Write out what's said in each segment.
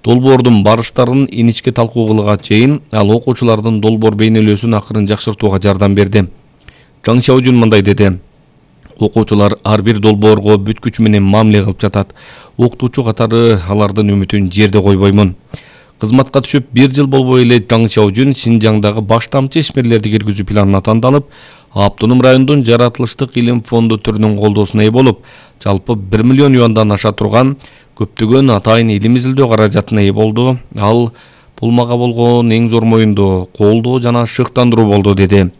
долбоордун барыштарын иничке талкуу кылууга чейин ал окуучулардын долбоор бейнелөөсүн акырын жакшыртууга жардам берди. Жаң Шаожун мындай деди: окуучулар ар бир долбоорго бүт күчү менен мамиле кылып жатат. Окутуучу катары алардын үмүтүн жерде койбоймун. Кызматка түшүп 1 жыл болбой эле Жаң Шаожун Шинжаңдагы баш тамчы ишмерлерди киргизүү планына тандалып, Автоном райондун жаратылыштык илим фонду түрүнүн колдоосуна ээ болуп, жалпы 1 миллион юандан аша турган көптөгөн атайын илим изилдөө каражатына ээ болду. Ал бул мага болгон эң зор моюндоо, колдоо жана шыктандыруу болду, деди.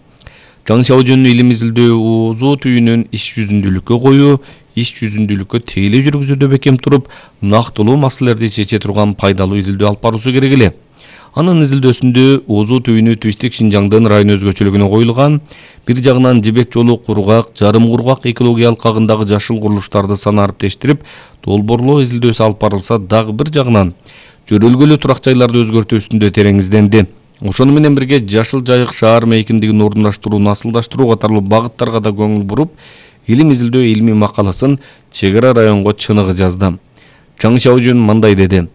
Жаң Шаожун илим изилдөө узуу түйүнүн иш жүзүндүүлүккө коюу, иш жүзүндүүлүккө тегеле жүргүзүүдө бекем туруп, нактылуу маселелерди чече турган пайдалуу изилдөө алып баруусу керек эле. Анын изилдөөсүндө узуу түйүнү Түштүк Шинжаңдын район өзгөчөлүгүнө коюлган, бир жагынан Жибек жолу кургак, жарым кургак экология алкагындагы жашыл курулуштарды санарип тештирип, долбоорлоо изилдөөсү алып барылса, дагы бир жагынан жөрөлгөлүү турак жайларды өзгөртүү үстүндө терең изденди. Ошону менен бирге Жашыл Жайык шаар мейкиндигин орундаштыруу, насылдаштыруу катарлуу багыттарга да көңүл буруп, илим изилдөө илмий макаласын Чек Ара районго чыныгы жазды. Жаң Шаожун мындай деди: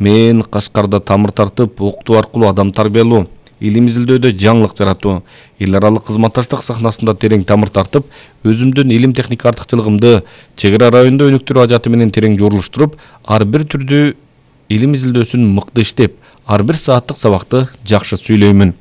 мен Кашкарда тамыр тартып, окутуу аркылуу адам тарбиялоо, илим изилдөөдө жаңылык жаратуу, эл аралык кызматташтык сахнасында терең тамыр тартып, өзүмдүн илим техника артыкчылыгымды Чек Ара райондо өнүктүрүү ажаты менен терең журулуштуруп, ар бир түрдүү илим изилдөөсүн мыкты иштеп, ар бир сааттык сабакты жакшы сүйлөймүн.